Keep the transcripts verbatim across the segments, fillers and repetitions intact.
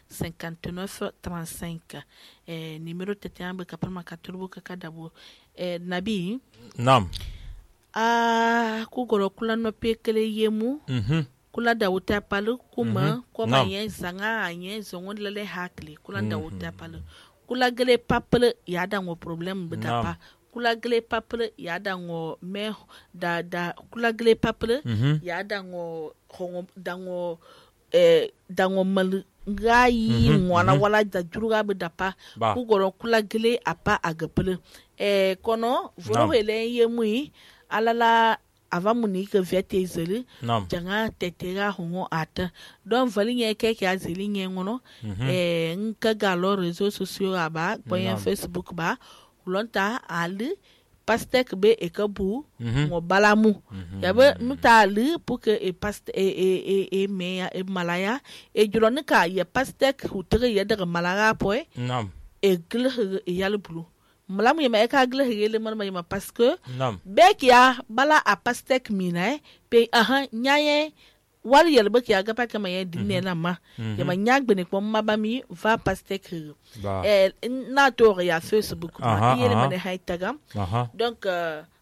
cinquante-neuf trente-cinq. Eh, numéro tete ambe kapalma katurbu kakadabo. Eh, Nabi. Naam. Ah, kugoro kula no pekele yemu. Mhm. Kula da wuta palu kuma Mhm. koma Naam. yen zanga yen zongon lele hakli kula da wuta palu. Kula gele papele ya da ngo problem bedapa. Kula gele papele ya da ngo me da da kula gele papele Mhm. ya da ngo hongo da ngo eh da ngo mal ngai Mhm, ngwana mhm. wala da juruga bedapa Ba. kugoro kula gele apa agapele. Eh kono voro Naam. hele yemui alala ava muni ke vete zeli Naam. janga tetera hongo ata don vali nye ke ke azeli nye ngono Mhm. eh nka galo réseaux sociaux aba boyen Naam. Facebook ba ulonta ali pastek be ekabu Mhm. ngo balamu Mhm. yabe nuta ali pour que e past e e e e meya e malaya e julonika ya pastek hutere ya daga malaga poe Naam. e glhe e yal bulu malamu yema e ka glhe yele man ma parce que Naam. bekia bala a pastek mina pe aha nyaye wali yel bekia ga pa kama ye dinne na ma Mhm. yema nyagbe ne pom mabami va pastek Ba. eh na to ya Facebook Aha, ma yele aha. mane haitaga Aha. donc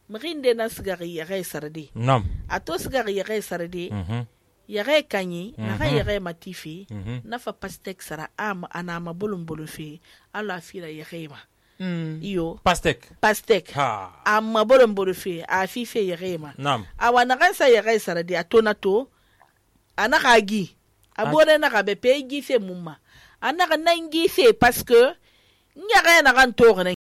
mrinde na sigari ya re sarde Naam. ato sigari ya re sarde Mhm. ya re kanyi na ga Mhm. ya re matifi Mhm. na fa pastek sara am anama bolum bolufi ala fira ya rema Mm. iyo Pastek. pastek Ha. amma bolum bolufi a fife ya rema Naam. awa na gansa ya gai sarade a tona to anaka gi abore na ga be pe gi fe mumma anaka nan gi fe parce que nya ga na gan to ne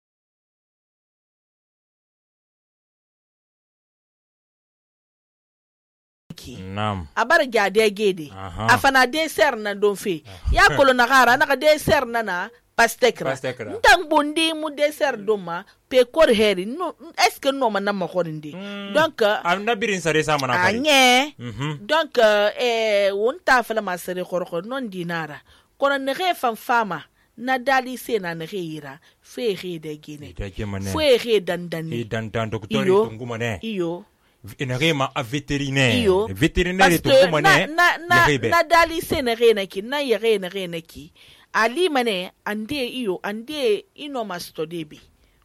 Naam. abar ga de gede Aha. afana de ser na don fe ya kolo na gara na ga de ser na na pastekra Pastekra. ntan bondi mu de ser doma pe kor heri no est ce que no man na ma korindi donc Am na birin sare sa mana fari. anye Mhm. donc eh wonta fala masere korko non dinara kono ne re fan fama na dali se na ne reira fe re de gine Ita ke mane. fe re dandane E dan dan doktori Iyo. tunguma ne. iyo Ina rema a vétérinaire. iyo Vétérinaire parce que tunguma na ne. na na, Yahebe. na dali se na re na ki na ye re na re na ki ali mane ande iyo ande ino mastodebi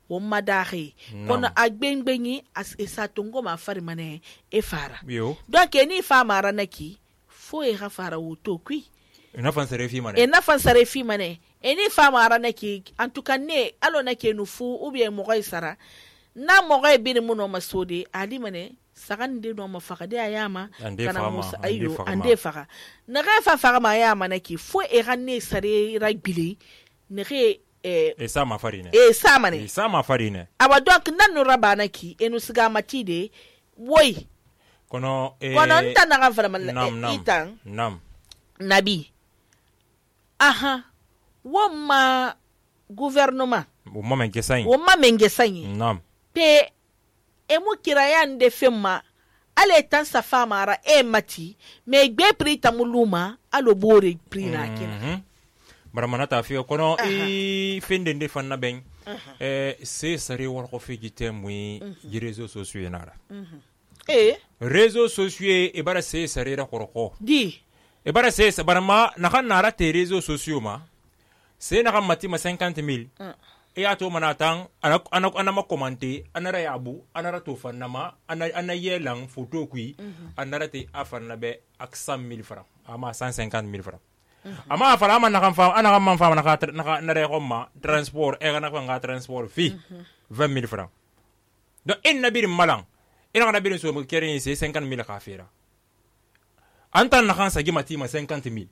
wo madare Naam. kono agbengbenyi as esatongo ma fari mane e fara Yo. donc eni fa mara naki fo e ha fara wuto kui Ina fan sare fi mane. e na fan sare fi mane eni fa mara naki en tout cas ne alo naki nu fu ou bien mo sara na mo ga bi mu no masode ali mane sagan de no ma faga de ayama Ande faga ma, musa ande ayo faga ma. ande faga na ga fa faga ma ayama naki fo e ganne sare ragbili ne re eh E sa ma fari ne. e sa mane E sa ma fari ne. aba donc nan no rabana ki enu siga matide woy Kono e kono nta na ga fara mal Nam nam. itan Nam. nabi aha wo ma gouvernement O mama ke sain. wo ma menge sanyi Nam. pe e mu kirayan de femma ale tan sa fama ara e mati me gbe pri tamuluma alo bore pri na kina Mhm. Baramana ta fi kono i fende de fan na ben. Eh se sare war ko fi gitem wi ji réseaux sociaux nara. e Réseaux sociaux e bara se sare ra koroko. di E bara se barama na kan nara te réseaux sociaux ma. Se na kan mati ma cinquante mille. E ato manatan ana ana ana ma commenter anara yabu anara to fan na ma ana ana yelang photo kui anara te afan na be ak cent mille francs ama cent cinquante mille francs. Ama fala man nakam fa ana kam man fa na na na re ma transport e na ko nga transport fi vingt mille francs. Donc in nabir malang ina na birin so mo kere c'est cinquante mille ka fera. Antan na kan sa gimati ma cinquante mille.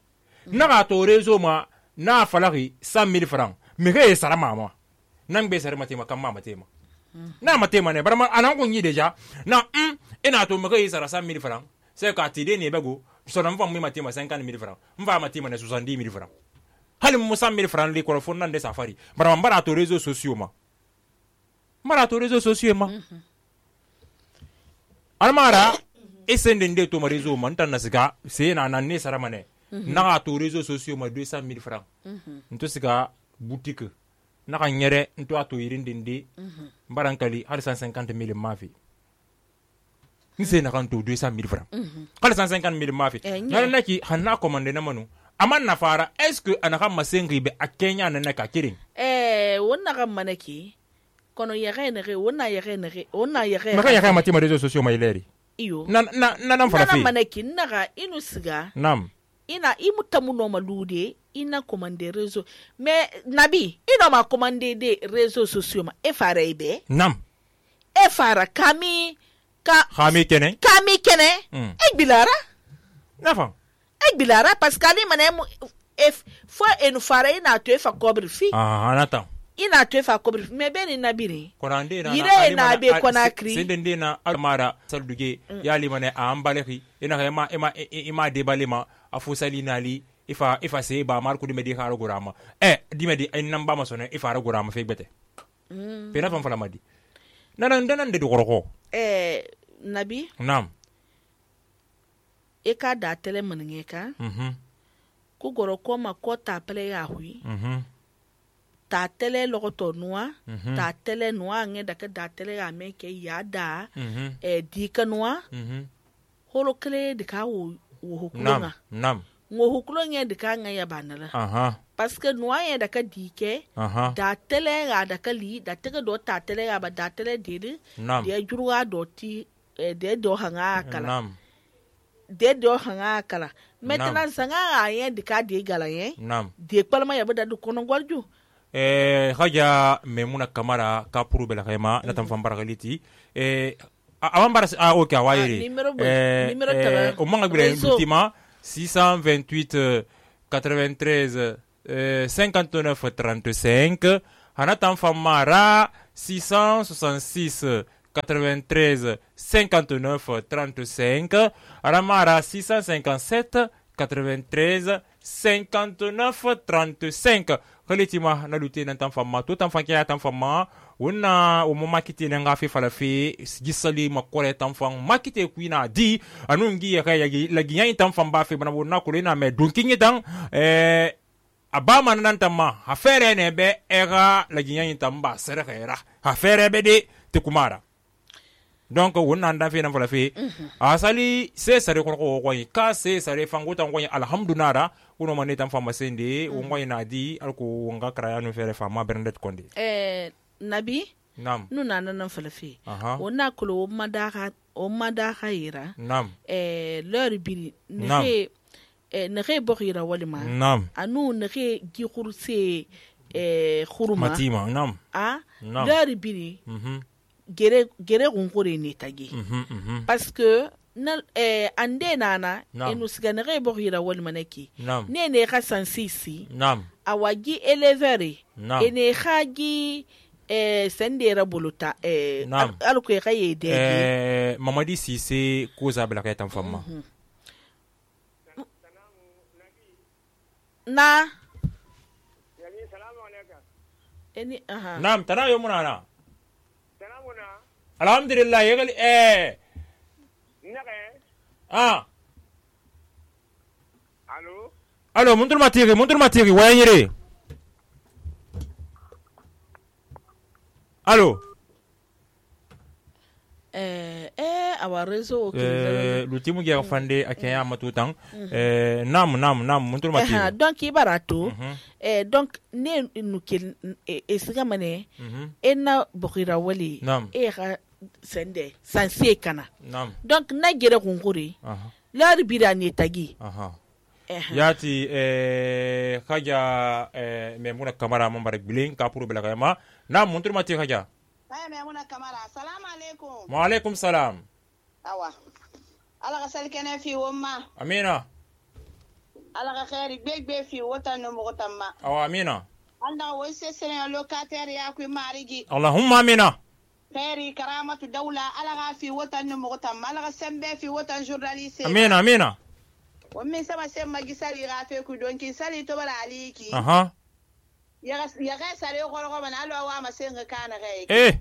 Na ga to rezo ma na falaki cent mille francs. Me ke sara mama. Nang be sara mati ma kam mama tema. Na matema ne barama anan ko nyi deja na mm ina to me ke sara cent mille francs. C'est ka ti de ne bego so na mfa mu mati ma cinquante mille francs. Mfa mati ma ne soixante-dix mille francs. Hali mu cent mille francs li ko fon nan de safari. Barama mbara to réseaux sociaux ma. Mbara to réseaux sociaux ma. Almara esende nde to ma réseau man tan nasiga c'est na nan ne sara mane. Na ga to réseaux sociaux ma deux cent mille francs. Nto siga boutique na ka nyere nto ato irinde ndi mbarankali hali cent cinquante mille mafi. Nse na kan to deux cent mille francs. Hali cent cinquante mille mafi. Na na ki hanna commande na manu aman nafara est-ce que anaka masengi be akenya nana ka kirin eh wonna ga manaki kono yare ne re wonna yare ne re wonna yare maka yare mati ma réseaux sociaux ma ileri iyo na na na nan fara fi na manaki naga inu siga nam ina imutamu no malude ina commande réseau mais nabi ino ma commande des réseaux sociaux ma e fara ibe nam e fara kami ka kami kene kami kene mm. e bilara nafa e bilara parce que ali mané if fo enu fara ina to e fa cobre fi ah anata ina to e fa cobre fi me be ni nabiri konande na yire na be konakri sende na almara salduge mm. yali mané a ambaleki ina ema ema ema debalema afusali nali ifa ifa se ba marku di medi kharo gurama eh di medi ay namba ma sone ifa ra gurama fe bete mm. pena fam fala madi nanan danan de goroko eh nabi nam e ka da tele maninge ka mhm ku goroko ma ko ta pele ya hui mhm ta tele logoto nuwa mm-hmm. ta tele nuwa nge da ka da tele ya me ke ya da mm-hmm. eh di ka nuwa mhm holo kele de ka wo wo nam hukulunga nam wo hukulunga de ka nga ya banala aha parce que nuwa ya da ka di ke aha da tele ga da ka li da tege do ta tele ga ba da tele de nam de juruwa do ti eh, de do hanga kala nam de do hanga kala maintenant sanga ya de ka de gala ye nam de palma ya ba da kono gwarju eh haja memuna kamara ka puru bela khayma na tam fam baragaliti eh awan bar ah ok awayere eh eh o manga bile ultima six cent vingt-huit quatre-vingt-treize cinquante-neuf trente-cinq hana tam fam mara six cent soixante-six quatre-vingt-treize cinquante-neuf trente-cinq hana mara six cent cinquante-sept quatre-vingt-treize cinquante-neuf trente-cinq khalitima na lute nan tan famma to tan fanke ya tan famma wonna o mo makite nan ga fe fala fe gisali makore tan fam makite kuina di anungi ya ya la giyan tan fam ba fe bana wonna ko na me dunkin tan eh abama nan tan ma ha fere ne be era la giyan tan ba sere khaira ha fere be de te kumara donc wonna nda fe nan fala fe asali se sare ko ko ko ka se sare fango tan ko alhamdulillah uno mane tan fama sende o ngoy na di alko nga kraya no fere fama berndet konde eh nabi nam nu na nan fala fe aha wonna ko o madaka o madaka ira nam eh leur biri ne eh ne re bokhira walima nam anu ne re gi khurse eh khuruma matima nam ah nam leur biri mhm gere gere gunkure ne tagi mhm mhm parce que na eh ande nana enu sigane re bokhira walima neki ne ne ka sansisi nam awagi elevere nam ene khagi eh sendera buluta eh alko ya yede eh Mamadi Cissé koza bela ka tan famma na eni aha nam tana yo munana tanamuna alhamdulillah yegali eh naka ah allo allo mundur matiri mundur matiri wayire allo eh eh awa réseau eh lutimu gi afande akenya matutan eh nam nam nam mundur matiri eh donc ibarato eh donc ne nukel esiga mane ena bokira wali e ga sende sansie kana nam donc na gere kunkuri lar birani tagi aha yati eh khaja eh memuna kamara mambare bilin ka puru bela kayama nam muntur mati khaja ay memuna kamara assalamu alaikum wa alaikum salam awa ala ga salkene fi wumma amina ala ga khairi begbe fi wota no mo tamma awa amina anda wo se sene locataire ya ku marigi allahumma amina khairi karamatu dawla ala ga fi wota no mo tamma ala ga sembe fi wota journaliste amina amina wammi sama semma gisali ga fe ku donki sali to bala aliki aha ya ya ga sare ko ko man alo wa ma senga kana gai eh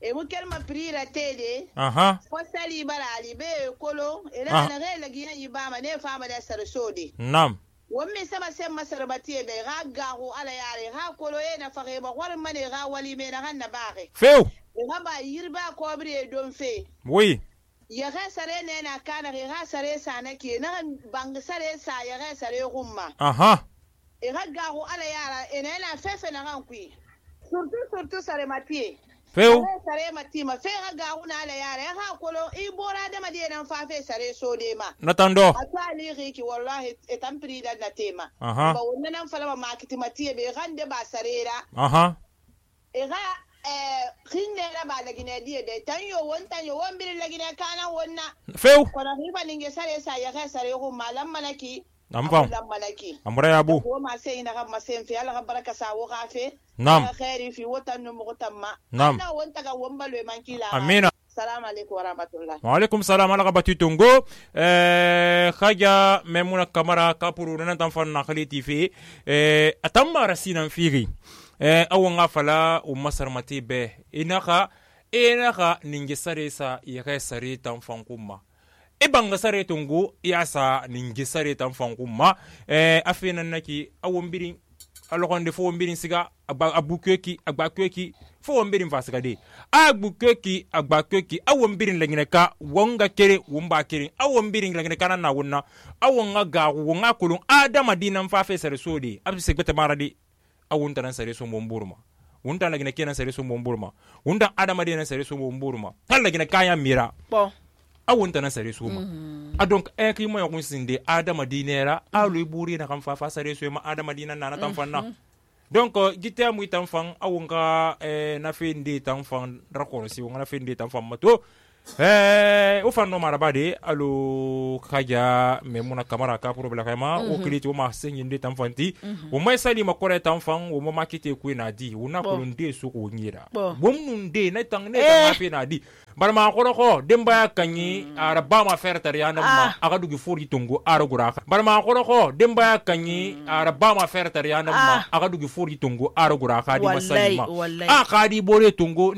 e mu kelma prira tede aha ko sali bala ali be kolo ila na ga la giya ibama ne fama da sar sodi nam wammi sama semma sarbati be ga gahu ala yare ha kolo e na fage ba war mane ga wali me na hanna baare feu e ga ba yirba ko bre don fe oui ya ga sare ne na kana ga sare sa nake na bang sare sa ya ga sare gumma aha e ga ga ko ala yara ina na fefe na kan kui surtu surtu sare matiye feu sare mati ma fe ga ga una ala yara ya ha kolo i bora da madiye nan fa fe sare so de ma natando atali riki wallahi e tampri da na tema aha ba wannan nan fala ma kiti matiye be gande ba sare ra aha e ga eh kinne la ba lagine die de tan yo won tan yo won bir lagine kana wonna feu ko na riba ninge sare sa ya ga sare ko malam manaki am fam lam manaki amra ya bu ko ma sai na ga ma sai fi ala ga baraka sa wo ga fe nam khairi fi watan no mo tamma Nam. na won ta ga won balwe man kila amina assalamu alaikum wa rahmatullah wa alaikum salam ala gabati tungo eh khaja memuna kamara kapuru nan tan fan na khaliti fi eh atamma rasinan firi eh awon afala o masar mate be inaka inaka ninge sare sa ya kai sare tan fan kuma e banga sare tungo ya sa ninge sare tan fan kuma eh afina naki awon birin alokonde fo mbirin siga abukweki agbakweki fo mbirin fasiga de agbukweki agbakweki awon mbirin lagine ka wonga kere womba kere awon mbirin lagine kana na wonna awon ga ga wonga kulun adama dinan fa fe sare sodi abse segbete maradi awon tan sare so momburma wonta lagine kenan sare so momburma wonta adama dinan sare so momburma tan lagine kaya mira bon awon tan sare so ma a donc e ki mo yakun sinde adama dinera alu buri na kan fa fa sare so ma adama dinan na tan fanna donc gite mu tan fan awon ka e na fe ndi tan fan rakon si won na fe ndi tan fan mato eh o fanno marabade alo khaja memuna kamara ka pro bla kama o kliti o ma sengi ndi tan fanti o mai sali makore tan fan o ma makite ku na di wona ko nde so ko nyira bom nunde na tan ne tan fe na di bar ma ko ko demba kanyi ara ba ma fer tar yana ma aga dugi fori tongo ara gura bar ma ko ko demba kanyi ara ba ma fer tar yana ma aga dugi fori tongo ara gura ka di masali ma a ka di bore tongo